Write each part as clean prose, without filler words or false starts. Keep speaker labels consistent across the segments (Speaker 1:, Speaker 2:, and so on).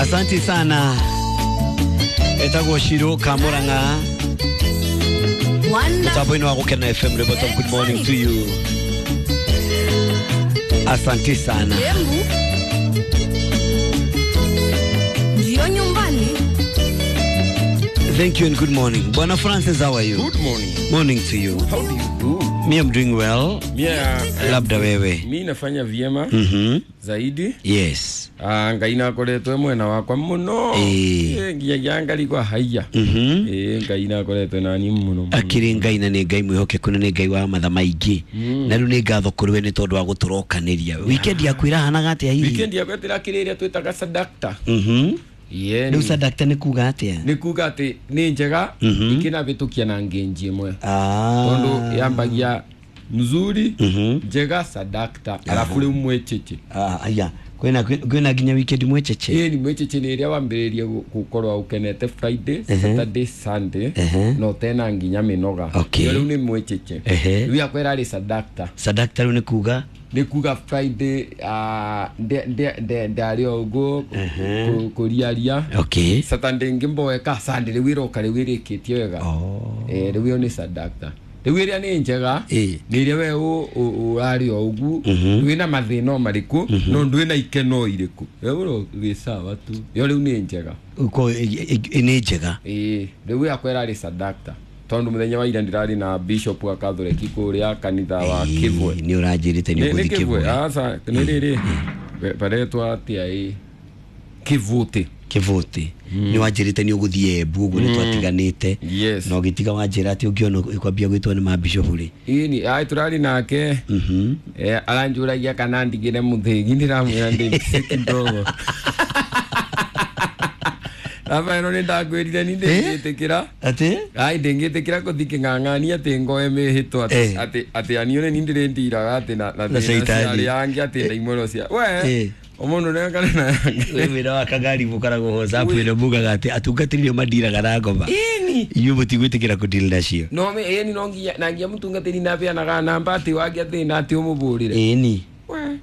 Speaker 1: Asante sana. Etagwo Shiro Kamuranga. Mutambo-inĩ wa Gũkena FM Ribota, good morning to you. Asante sana.
Speaker 2: Ndio nyumbani.
Speaker 1: Thank you and good morning. Bwana Francis, how are you?
Speaker 3: Good morning.
Speaker 1: Morning to you.
Speaker 3: How do you do?
Speaker 1: Me, I'm doing well.
Speaker 3: Mia,
Speaker 1: Labda wewe.
Speaker 3: mi nafanya vyema zaidi.
Speaker 1: Yes.
Speaker 3: Ah, Ngai nakoretwe mwena wakwa muno. Nginyagia ngarigwa haiya. Ngai nakoretwe nani muno muno.
Speaker 1: Akĩrĩ Ngai na nĩ Ngai mwĩhokeku na nĩ Ngai wa matha maingĩ. Na rĩu nĩ ngatho kũrĩ we nĩ tondũ wa gũtũrokanĩria. Weekend yaku ĩrahanaga atĩa hihi?
Speaker 3: Weekend yakwa ĩrakĩrĩ ĩrĩa twĩtaga sadakta.
Speaker 1: Rĩu
Speaker 3: Rĩu
Speaker 1: sadakta nĩ kuga atĩa?
Speaker 3: Nĩ kuga atĩ nĩ njega ikĩnabĩtũkia na ngenji ĩmwe. Tondũ yambagia mzuri, njega, sadakta, alafu rĩu mwecheche.
Speaker 1: Ah, aya. Kwĩna nginya weekend mwecheche.
Speaker 3: Ĩĩ ni mwecheche nĩ ĩrĩa wambĩrĩrie gũkorwo ũkenete Friday, Saturday, Sunday, no tena nginya mĩnoga.
Speaker 1: Okay.
Speaker 3: Rĩu nĩ mwecheche. Rĩu yakwa ĩrarĩ sadakta.
Speaker 1: Sadakta rĩu nĩ kuga
Speaker 3: Nĩ kuga Friday ndarĩ o ũguo kũriaria.
Speaker 1: Okay.
Speaker 3: Saturday ngĩmboeka, Sunday rĩu ĩroka rĩu ĩrĩkĩtie wega. Rĩu ĩyo nĩ sadakta. Rĩu ĩrĩa nĩ njega nĩ ĩrĩa we ũrarĩ o ũguo wĩna mathĩna o marĩkũ no ndwĩna ikeno irĩkũ, we ũro wĩ sawa tu, ĩyo rĩu nĩ njega.
Speaker 1: Uko nĩ njega.
Speaker 3: Ĩĩ, rĩu yakwa ĩrarĩ sadakta tondũ mũthenya wa ira ndĩrarĩ na bishop wa Catholic kũrĩa kanitha wa Kĩbwe.
Speaker 1: Nĩ ũranjĩrĩte nĩ
Speaker 3: Nĩ
Speaker 1: ũgũthiĩ
Speaker 3: Kĩbwe?
Speaker 1: Kĩbwe.
Speaker 3: Aca, nĩ rĩrĩ baretwa atĩa? Ĩ Kĩvũtĩ.
Speaker 1: Kĩvũtĩ. Nĩ wanjĩrĩte nĩ ũgũthiĩ Embu ũguo nĩ twatiganĩte.
Speaker 3: Yes.
Speaker 1: Na ũgĩtiga wanjĩra atĩ ũngĩona ũkwambia gwĩtwo nĩ mabishop rĩ.
Speaker 3: Ĩni ai tũrarĩ nake. Aranjũragia kana ndigĩre mũthĩgi, ndĩramwĩra ndĩ kidogo. Rafaelo nĩ ndakwĩrire ni ndĩngĩtĩkĩra.
Speaker 1: Atĩ?
Speaker 3: Ai ndĩngĩtĩkĩra kũthi kĩng'ang'ani atĩ ngoe mĩhĩtwa atĩ atĩ anione ni ndĩrĩndiraga atĩ na
Speaker 1: Na
Speaker 3: thĩna cia
Speaker 1: caitani.
Speaker 3: arĩa angĩ atĩ ndaimũro cia we ũmũndũ nĩakane na
Speaker 1: Wĩ wĩra wa kangari mũkoragwo WhatsApp ĩno mugaga atĩ atungatĩri nĩo mandiraga na ngoma.
Speaker 3: Ĩni.
Speaker 1: Inyuĩ mũtigwĩtĩkĩra kũdeal nacio.
Speaker 3: No ĩni no nginya na nginya mũtungatĩri nabeanaga namba atĩ wangĩ thĩna atĩ ũmũbũrĩre.
Speaker 1: Ĩni.
Speaker 3: We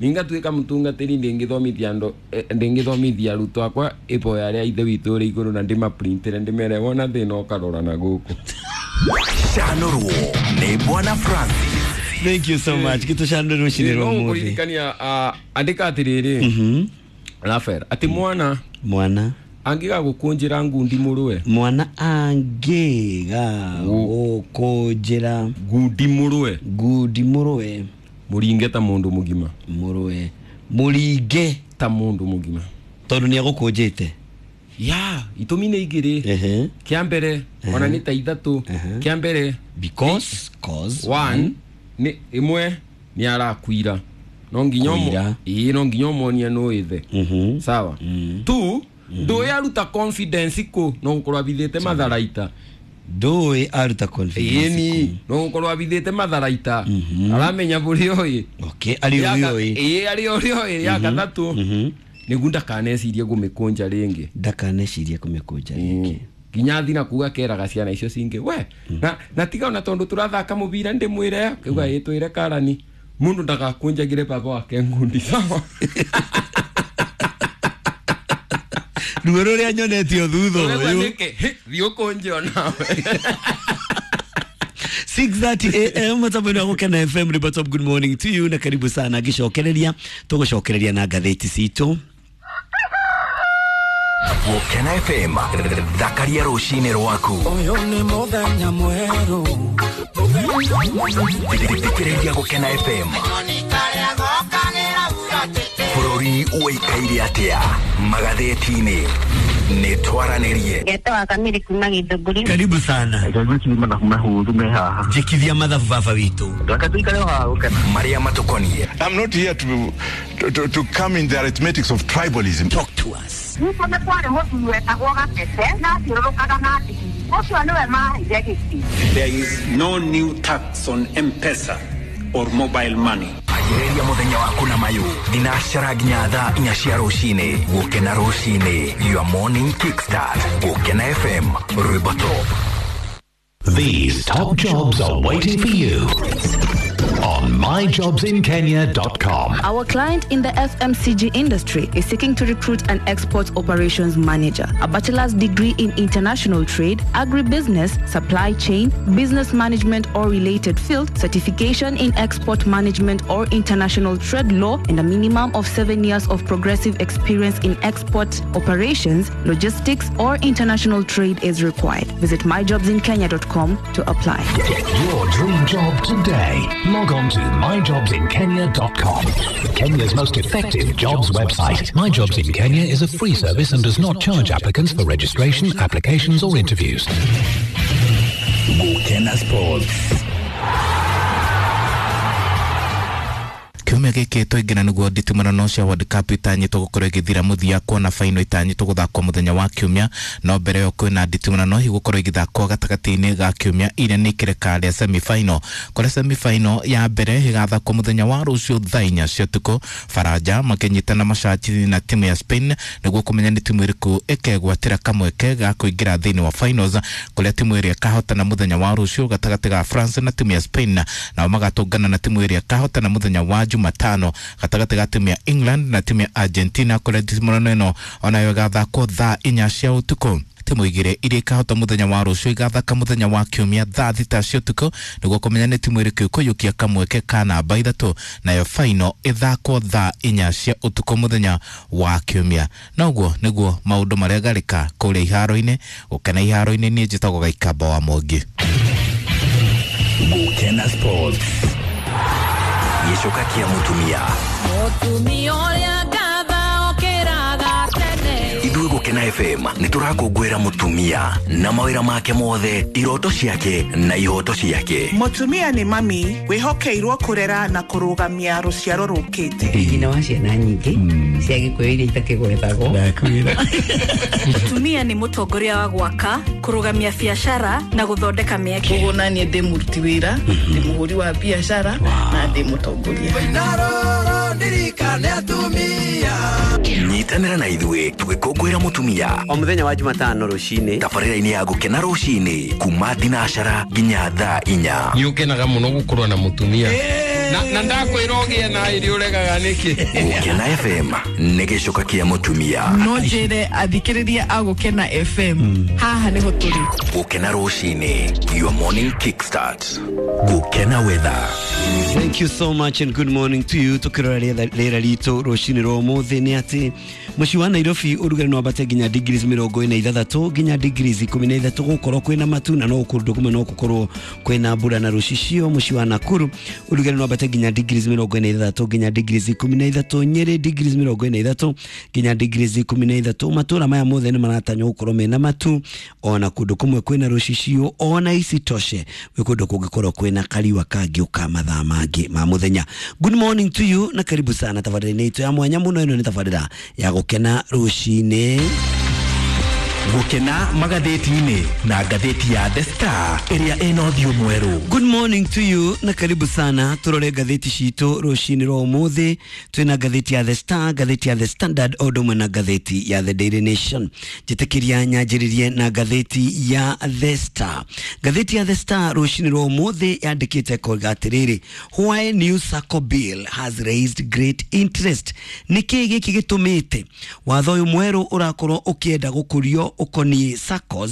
Speaker 3: ningatuĩka mũtungatĩri ndĩngĩthomithia andũ, ndĩngĩthomithia arutwo akwa iboya rĩa ithe witũ ũrĩ igũrũ na ndĩmaprintĩre ndĩmere wona thĩna ũkarora na gũkũ.
Speaker 4: Canũrwo nĩ Bwana Francis.
Speaker 1: Thank you so much. Gĩtũcanũre rũcinĩ rwa
Speaker 3: No
Speaker 1: ũmũthĩ.
Speaker 3: ngũririkania, andĩka atĩrĩrĩ Rafael, atĩ mwana
Speaker 1: Mwana
Speaker 3: angĩgagũkũnjĩra ngundi mũrũe.
Speaker 1: Mwana angĩga gũkũnjĩra
Speaker 3: ngundi mũrũe.
Speaker 1: Ngundi mũrũe.
Speaker 3: Mũringe ta mũndũ mũgima.
Speaker 1: Mũrũe. Mũringe
Speaker 3: ta mũndũ mũgima.
Speaker 1: Tondũ nĩ agũkũnjĩte.
Speaker 3: Ya, itũmi nĩ igĩrĩ. Kĩa mbere ona nĩ ta ithatũ. Kĩa mbere
Speaker 1: because cause
Speaker 3: one nĩ ĩmwe nĩ arakuira. No nginya
Speaker 1: Kũira.
Speaker 3: Ĩĩ, no nginya ũmuonie nũ ithe. Sawa. Two, ndũĩ aruta confidence kũ, no gũkorwo abithĩte matharaita.
Speaker 1: Ndũĩ aruta confidence.
Speaker 3: Ĩni, no gũkorwo abithĩte matharaita. Aramenya bũrĩa ũĩ.
Speaker 1: Okay, arĩ ũrĩa ũĩ.
Speaker 3: Ĩĩ, arĩ ũrĩa ũĩ. Ya gatatũ nĩguo ndakanecirie gũmĩkũnja rĩngĩ.
Speaker 1: Ndakanecirie kũmĩkũnja rĩngĩ.
Speaker 3: Nginya thina kuga keraga ciana icio cingĩ we na tiga ona tondũ tũrathaka mũbira ndĩmwĩre kiuga ĩ twĩre karani mũndũ ndagakũnjagĩre baba wake ngundi sawa.
Speaker 1: Ruo rũrĩa nyonetio thutha
Speaker 3: Ũrĩa
Speaker 1: ũyũ.
Speaker 3: nĩkĩ? Thiĩ ũkũnje onawe.
Speaker 1: 6:30 am mutambo-inĩ wa Gũkena FM Ribotop, good morning to you na karibu sana. Ngĩcokereria tũgũcokereria na ngathĩti citũ.
Speaker 4: Gũkena FM, thakaria rũcinĩ rwaku.
Speaker 5: Ũyũ nĩ mũthenya mwerũ.
Speaker 4: Thikĩrĩria Gũkena FM. Bũrũri ũikaire atĩa magathĩti-inĩ? Nĩ twaranĩrie.
Speaker 6: Ngetwa Kamiri kuma Githũngũri.
Speaker 1: Karibu sana. Njĩkithia mathabu baba witũ.
Speaker 4: Marĩa matũkoniĩ.
Speaker 7: I'm not here to come in the arithmetics of tribalism.
Speaker 1: Talk to us.
Speaker 6: Nĩguo nĩ kwarĩ mũthuri wetagwo Gatete na athiũrũrũkaga na ndigiri. Ũcio nĩwe maheire gĩtĩ.
Speaker 8: There is no new tax on M-Pesa or mobile money.
Speaker 4: Anjĩrĩria mũthenya waku na mayũ thinacara nginya thaa 4 cia rũcinĩ. Gũkena rũcinĩ, your morning kickstart. Gũkena FM, rwĩmbo top.
Speaker 9: These top jobs are waiting for you. On myjobsinkenya.com.
Speaker 2: Our client in the FMCG industry is seeking to recruit an export operations manager, a bachelor's degree in international trade, agribusiness, supply chain, business management or related field, certification in export management or international trade law, and a minimum of 7 years of progressive experience in export operations, logistics, or international trade is required. Visit myjobsinkenya.com to apply.
Speaker 9: Get your dream job today. Log on to myjobsinkenya.com. Kenya's most effective jobs website. My Jobs in Kenya is a free service and does not charge applicants for registration, applications, or interviews.
Speaker 4: Gukena Sports.
Speaker 10: Kiumia gĩkĩ twaingĩra nĩguo nditimũrano cia World Cup itanyĩtwo gũkorwo ĩgĩthira mũthia kuona final itanyĩtwo gũthakwo mũthenya wa kiumia. No mbere ĩyo kwĩna nditimũrano igũkorwo ĩgĩthakwo gatagatĩ-inĩ ga kiumia iria nĩ kĩreka rĩa semi final, kũrĩa semi final ya mbere ĩgathakwo mũthenya wa rũciũ thaa 4 cia ũtukũ, Faranja makĩnyitana macati na timu ya Spain nĩguo kũmenya nĩ timu ĩrĩkũ ĩkegwatĩra kamweke ga kũingĩra thĩinĩ wa finals, kũrĩa timu ĩrĩa ĩkahotana mũthenya wa rũciũ gatagatĩ ga France na timu ya Spain nao magatũngana na timu ĩrĩa ĩkahotana mũthenya wa Jumatano gatagatĩ ga timu ya England na timu ya Argentina, kũrĩa nditimũrano ĩno onayo ĩgathakwo thaa 4 cia ũtukũ. Timu igĩrĩ iria ikahota mũthenya wa rũciũ igathaka mũthenya wa kiumia thaa 6 cia ũtukũ nĩguo kũmenya nĩ timu ĩrĩkũ ĩkũiyũkia kamweke ka namba 3, nayo final ĩthakwo thaa 4 cia ũtukũ mũthenya wa kiumia. Na ũguo nĩguo maũndũ marĩa garĩka kũrĩa iharo-inĩ. Gũkena iharo-inĩ, niĩ njĩtagwo Gaikamba wa Mwangi.
Speaker 4: Gukena Sports. Gĩcoka kĩa mũtumia.
Speaker 11: Mũtumia ũrĩa ngatha okĩraga tene.
Speaker 4: Ithuĩ Gũkena FM nĩ tũrakũngũĩra mũtumia na mawĩra make mothe, iroto ciake na ihoto ciake.
Speaker 12: Mũtumia nĩ mami wĩhokeirwo kũrera na kũrũgamia rũciaro rũkĩte.
Speaker 13: Nyina wa ciana nyingĩ cia Gĩkũyũ iria itakĩgwetagwo.
Speaker 14: Mũtumia nĩ mũtongoria wa gwaka, kũrũgamia biacara na gũthondeka mĩeke.
Speaker 15: Koguo naniĩ ndĩ mũruti wĩra, ndĩ mũhũri wa biacara na ndĩ mũtongoria.
Speaker 4: Nyitanĩra na ithuĩ tũgĩkũngũĩra mũtumia
Speaker 1: o mũthenya wa Jumatano rũcinĩ
Speaker 4: tabarĩra-inĩ ya Gũkena rũcinĩ kuma thinacara nginya thaa 4.
Speaker 3: Nĩ ũkenaga mũno gũkorwo na mũtumia na ndakwĩra ũgĩe na irio ũregaga nĩkĩ.
Speaker 4: Gũkena FM nĩ gĩcoka kĩa mũtumia.
Speaker 15: No njĩre athikĩrĩria a Gũkena FM haha nĩho tũrĩ.
Speaker 4: Gũkena rũcinĩ, your morning kickstart. Gũkena weather.
Speaker 1: Thank you so much and good morning to you. Tukirora rĩera ritũ rũcinĩ rwa ũmũthĩ nĩ atĩ mũciĩ wa Nairobi ũrugarĩ no wambate nginya degrees 46 nginya degrees 13, gũkorwo kwĩna matu na no kũndũ kũmwe no gũkorwo kwĩna mbura na rũcicio. Mũciĩ wa Nakuru ũrugarĩ no wambate nginya degrees 46 nginya degrees 13, Nyeri degrees 43 nginya degrees 13. Matũra maya mothe nĩ maratanywo gũkorwo mena matu ona kũndũ kũmwe kwĩna rũcicio, ona isitoshe gwĩ kũndũ kũngĩkorwo kwĩna kariũa kangĩũka mathaa mangĩ ma mũthenya. Good morning to you na karibu sana tabarĩra-inĩ itũ ya mwanya mũno. Ĩno nĩ tabarĩra ya Gũkena rũcinĩ.
Speaker 4: Gũkena magathĩti-inĩ na ngathĩti ya The Star ĩrĩa ĩna ũthiũ mwerũ.
Speaker 1: Good morning to you na karibu sana turore ngathĩti citũ rũcinĩ rwa ũmũthĩ. Twĩna ngathĩti ya The Star, ngathĩti ya The Standard o ũndũ ũmwe na ngathĩti ya The Daily Nation. Njĩtĩkĩria nyanjĩrĩrie na ngathĩti ya The Star. Ngathĩti ya The Star rũcinĩ rwa ũmũthĩ yandĩkĩte koiga atĩrĩrĩ, why new SACCO bill has raised great interest. Nĩkĩ gĩkĩ gĩtũmĩte watho ũyũ mwerũ ũrakorwo ũkĩenda gũkũrio ũkoniĩ SACCOs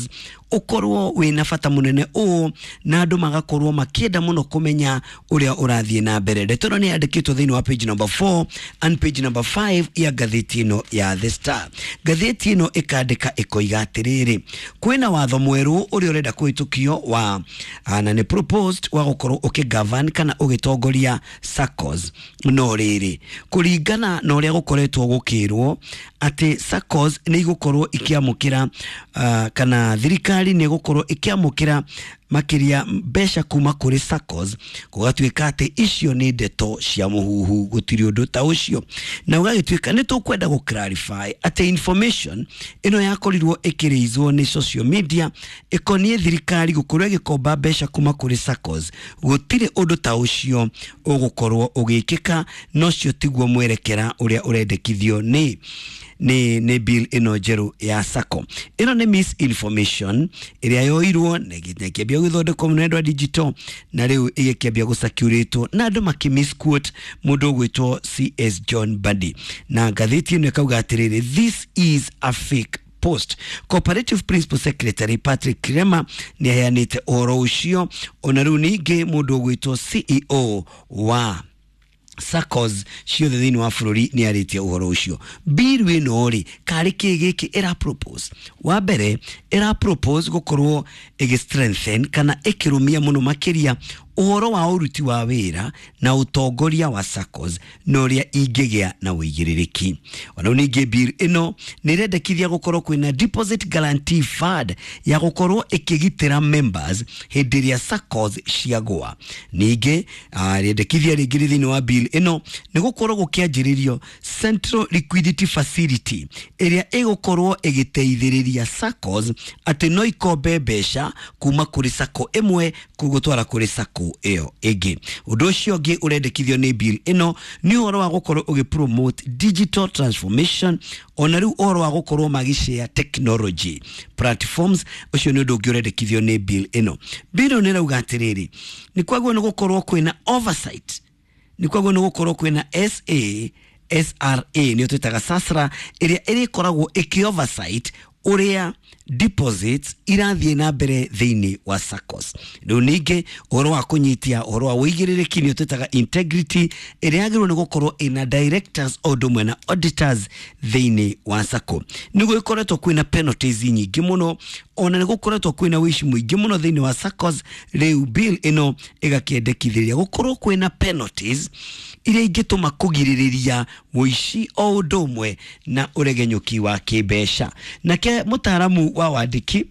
Speaker 1: ũkorwo wĩna bata mũnene ũũ na andũ magakorwo makĩenda mũno kũmenya ũrĩa ũrathiĩ na mbere. Ndeto ĩno nĩ yandĩkĩtwo thĩinĩ wa page number 4 and page number 5 ya ngathĩti ĩno ya The Star. Ngathĩti ĩno ĩkandĩka ĩkoiga atĩrĩrĩ, kwĩna watho mwerũ ũrĩa ũrenda kũhĩtũkio wa na nĩ proposed wa gũkorwo ũkĩgovern kana ũgĩtongoria SACCOs. No rĩrĩ, kũringana na ũrĩa gũkoretwo gũkĩrwo atĩ SACCOs nĩ igũkorwo ikĩamũkĩra kana thirikari nĩ gũkorwo ĩkĩamũkĩra makĩria mbeca kuma kũrĩ SACCOs, gũgatuĩka atĩ icio nĩ ndeto cia mũhuhu, gũtirĩ ũndũ ta ũcio. Na ũgagĩtuĩka nĩ tũkwenda gũ clarify atĩ information ĩno yakorirwo ĩkĩrĩizwo nĩ social media ĩkoniĩ thirikari gũkorwo ĩgĩkomba mbeca kuma kũrĩ SACCOs, gũtirĩ ũndũ ta ũcio ũgũkorwo ũgĩkĩka, na ũcio tiguo mwerekera ũrĩa ũrendekithio nĩ Nĩ bill ĩno njerũ ya sacco. Ĩno nĩ misinformation ĩrĩa yoirwo na ĩkĩambia gũthondekwo mũno nĩ andũ a digital, na rĩu ĩgĩkĩambia gũcirculate na andũ makĩ misquote mũndũ ũgwĩtwo CS John Mbadi, na ngathĩti ĩno ĩkauga atĩrĩrĩ, "This is a fake post." Cooperative Principal Secretary Patrick Kirema nĩ aheanĩte ũhoro ũcio. Ona rĩu ningĩ mũndũ ũgwĩtwo CEO wa SACCOs ciothe thĩinĩ wa bũrũri nĩ arĩtie ũhoro ũcio. Bill ĩno rĩ, karĩ kĩ gĩkĩ ĩra propose? Wa mbere, ĩra propose gũkorwo ĩgĩ strengthen kana ĩkĩrũmia mũno makĩria ũhoro wa ũruti wa wĩra na ũtongoria wa SACCOs na ũrĩa ingĩgĩa na ũigĩrĩrĩki. Ona rĩu ningĩ bill ĩno nĩ ĩrendekithia gũkorwo kwĩna deposit guarantee fund ya gũkorwo ĩkĩgitĩra members hĩndĩ ĩrĩa SACCOs ciagũa. Ningĩ rĩendekithia rĩngĩ rĩ thĩinĩ wa bill ĩno nĩ gũkorwo gũkĩanjĩrĩrio Central Liquidity Facility ĩrĩa ĩgũkorwo ĩgĩteithĩrĩria SACCOs atĩ no ikombe mbeca kuma kũrĩ SACCO ĩmwe gũtwara kũrĩ SACCO ĩyo ĩngĩ. Ũndũ ũcio ũngĩ ũrendekithio nĩ bill ĩno nĩ ũhoro wa gũkorwo ũgĩ promote digital transformation, ona rĩu ũhoro wa gũkorwo magĩshare technology platforms. Ũcio nĩ ũndũ ũngĩ ũrendekithio nĩ bill ĩno. Bill ĩno nĩ ĩrauga atĩrĩrĩ, nĩ kwagĩrĩirwo nĩ gũkorwo kwĩna oversight, nĩ kwagĩrĩirwo nĩ gũkorwo kwĩna SA SRA, nĩyo twĩtaga SASRA, ĩrĩa ĩrĩkoragwo ĩkĩ oversight ũrĩa deposits irathiĩ na mbere thĩinĩ wa SACCOs. Rĩu ningĩ ũhoro wa kũnyitia ũhoro wa ũigĩrĩrĩki, nĩyo twĩtaga integrity, ĩrĩa yagĩrĩirwo nĩ gũkorwo ĩna directors o ũndũ ũmwe na auditors thĩinĩ wa SACCO. Nĩ gũgĩkoretwo kwĩna penalties nyingĩ mũno, ona nĩ gũkoretwo kwĩna ũici mũingĩ mũno thĩinĩ wa SACCOs. Rĩu bill ĩno ĩgakĩendekithĩria gũkorwo kwĩna penalties iria ingĩtũma kũgirĩrĩria ũici o ũndũ ũmwe na ũregenyũki wa kĩmbeca. Nake mũtaaramu wa wandĩki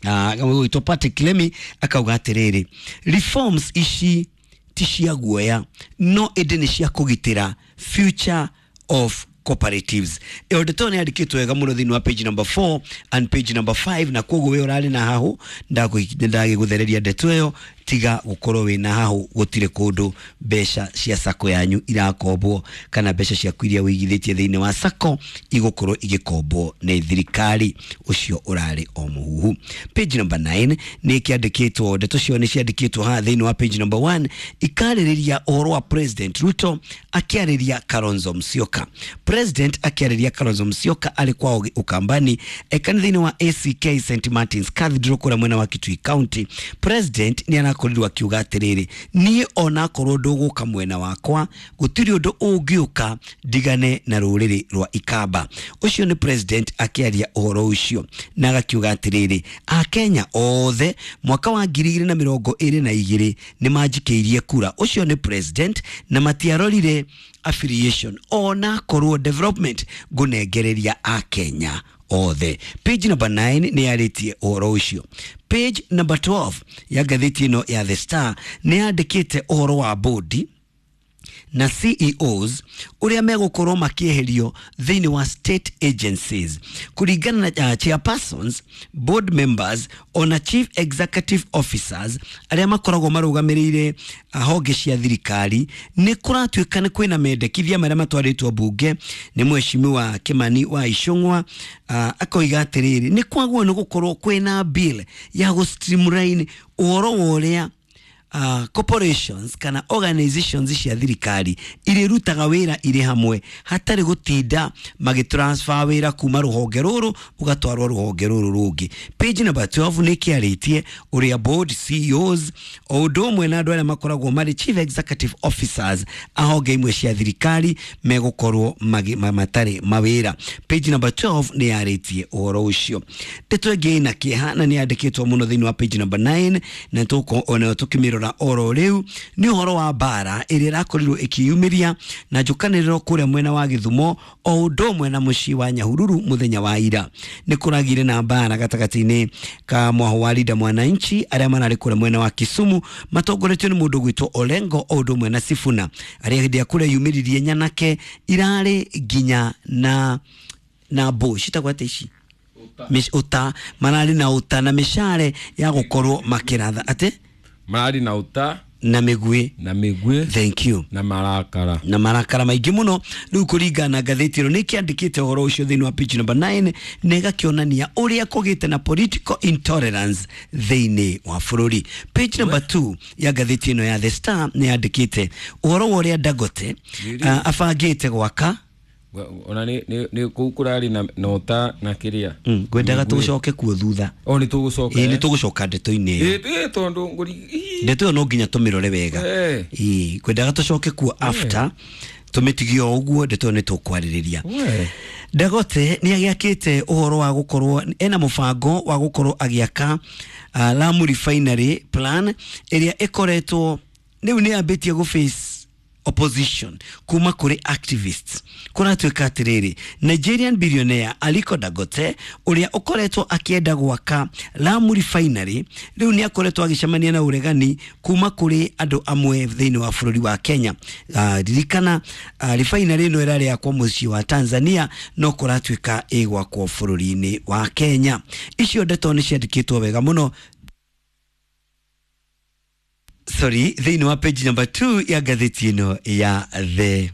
Speaker 1: gwĩtwo Patrick Lemi akauga atĩrĩrĩ, reforms ici ti cia guoya, no ĩndĩ nĩ cia kũgitĩra future of cooperatives. Ĩyo ndeto nĩ yandĩkĩtwo wega mũno thĩinĩ wa page number 4 and page number 5, na koguo we ũrarĩ na hahũ ndagĩgũthereria ndeto ĩyo. Tiga gũkorwo wĩna hahũ, gũtirĩ kũndũ mbeca cia sacco yanyu irakombwo kana mbeca ciaku iria wĩigithĩtie thĩinĩ wa sacco igũkorwo igĩkombwo nĩ thirikari. Ũcio ũrarĩ o mũhuhu. Page number 9 nĩ kĩandĩkĩtwo, ndeto cio nĩ ciandĩkĩtwo haha thĩinĩ wa page number 1, ikarĩrĩria ũhoro wa President Ruto akĩarĩria Kalonzo Musyoka. President akĩarĩria Kalonzo Musyoka arĩ kwao Ukambani kanitha-inĩ wa ACK St Martin's Cathedral kũrĩa mwena wa Kitui County. President nĩ arakorirwo akiuga atĩrĩrĩ, niĩ onakorwo ndũgũka mwena wakwa, gũtirĩ ũndũ ũngĩũka ndigane na rũrĩrĩ rwa Ikamba. Ũcio nĩ president akĩaria ũhoro ũcio na agakiuga atĩrĩrĩ, Akenya othe mwaka wa 2022 nĩ manjikĩirie kura. Ũcio nĩ president, na matiarorire affiliation, ona korwo development ngũnengereria Akenya othe. Page number 9 nĩ yarĩtie ũhoro ũcio. Page number 12 ya ngathĩti ĩno ya The Star nĩ yandĩkĩte ũhoro wa bodi na CEOs ũrĩa megũkorwo makĩeherio thĩinĩ wa state agencies kũringana na chairpersons, board members ona chief executive officers arĩa makoragwo marũgamĩrĩire honge cia thirikari. Nĩ kũratuĩka nĩ kwĩna mendekithia marĩa matwarĩtwo mbunge nĩ mheshimiwa Kimani wa Ichung'wa, akoiga atĩrĩrĩ, nĩ kwagwo nĩ gũkorwo kwĩna bill ya gũ streamline ũhoro wa ũrĩa corporations kana organizations cia thirikari irĩrutaga wĩra irĩ hamwe hatarĩ gũtinda magĩtransfer wĩra kuma rũhonge rũrũ ũgatwarwo rũhonge rũrũ rũngĩ. Page number 12 nĩ kĩarĩtie ũrĩa board, CEOs o ũndũ ũmwe na andũ arĩa makoragwo marĩ chief executive officers a honge imwe cia thirikari megũkorwo matarĩ mawĩra. Page number 12 nĩ yarĩtie ũhoro ũcio. Ndeto ĩngĩ ĩna kĩeha na nĩ yandĩkĩtwo mũno thĩinĩ wa page number 9 na onayo tũkĩmĩrora oro rĩu nĩ ũhoro wa mbara ĩrĩa ĩrakorirwo ĩkĩyumĩria na njũkanĩrĩro kũrĩa mwena wa Gĩthumo o ũndũ ũmwe na mũciĩ wa Nyahururu. Mũthenya wa ira nĩ kũragire na mbara gatagatĩ-inĩ ka mwaho wa Linda Mwananchi arĩa mararĩ kũrĩa mwena wa Kisumu matongoretio nĩ mũndũ gwĩtwo Orengo o ũndũ ũmwe na Sifuna, arĩa hĩndĩ ya kũrĩa yumĩririe nyanake irarĩ nginya na mbũ citagwo atĩa ici, ũta, mararĩ na ũta na mĩcare ya gũkorwo makĩratha atĩ
Speaker 3: mararĩ na ũta.
Speaker 1: Na mĩguĩ.
Speaker 3: Na mĩguĩ.
Speaker 1: Thank you.
Speaker 3: Na marakara.
Speaker 1: Na marakara maingĩ mũno. Rĩu kũringana na ngathĩti ĩno nĩ kĩandĩkĩte ũhoro ũcio thĩinĩ wa page number 9, na ĩgakĩonania ũrĩa kũgĩte na political intolerance thĩinĩ wa bũrũri. Page number 2 ya ngathĩti ĩno ya The Star nĩ yandĩkĩte ũhoro wa ũrĩa Dangote abangĩte gwaka.
Speaker 3: Ona nĩ kũu kũrarĩ na nota na kĩrĩa.
Speaker 1: Ngwendaga tũcoke kuo thutha.
Speaker 3: O nĩ tũgũcoka.
Speaker 1: Ĩĩ, nĩ tũgũcoka ndeto-inĩ ĩyo.
Speaker 3: Ĩĩ, tondũ ngũri.
Speaker 1: Ndeto ĩyo no nginya tũmĩrore wega. Ĩĩ, ngwendaga tũcoke kuo after tũmĩtigie o ũguo, ndeto ĩyo nĩ tũkwarĩrĩria. Dangote nĩ agĩakĩte ũhoro wa gũkorwo ena mũbango wa gũkorwo agĩaka Lamu Refinery plan ĩrĩa ĩkoretwo rĩu nĩ yambĩtie gũ face opposition kuma kũrĩ activists. Kũratuĩka atĩrĩrĩ, Nigerian billionaire Aliko Dangote ũrĩa ũkoretwo akĩenda gwaka Lamu Refinery rĩu nĩ akoretwo agĩcemania na ũregani kuma kũrĩ andũ amwe thĩinĩ wa bũrũri wa Kenya. Ririkana refinery ĩno ĩrarĩ yakwo mũciĩ wa Tanzania, no kũratuĩka ĩgwakwo bũrũri-inĩ wa Kenya. Icio ndeto nĩ ciandĩkĩtwo wega mũno, sorry, thĩinĩ wa page number 2 ya ngathĩti ĩno ya The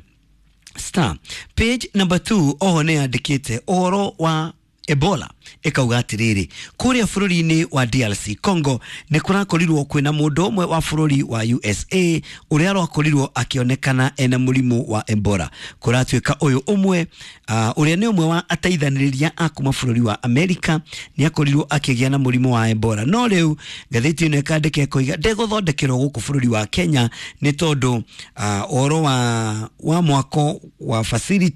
Speaker 1: Star. Page number 2 oho nĩ yandĩkĩte ũhoro wa Ebola, ĩkauga atĩrĩrĩ, kũrĩa bũrũri-inĩ wa DRC Congo nĩ kũrakorirwo kwĩna mũndũ ũmwe wa bũrũri wa USA ũrĩa ũrakorirwo akĩonekana ena mũrimũ wa Ebola. Kũratuĩka ũyũ ũmwe ũrĩa nĩ ũmwe wa ateithanĩrĩria a kuma bũrũri wa Amerika nĩ akorirwo akĩgĩa na mũrimũ wa Ebola. No rĩu ngathĩti ĩno ĩkandĩka ĩkoiga ndegũthondekerwo gũkũ bũrũri wa Kenya nĩ tondũ ũhoro wa mwako wa facility.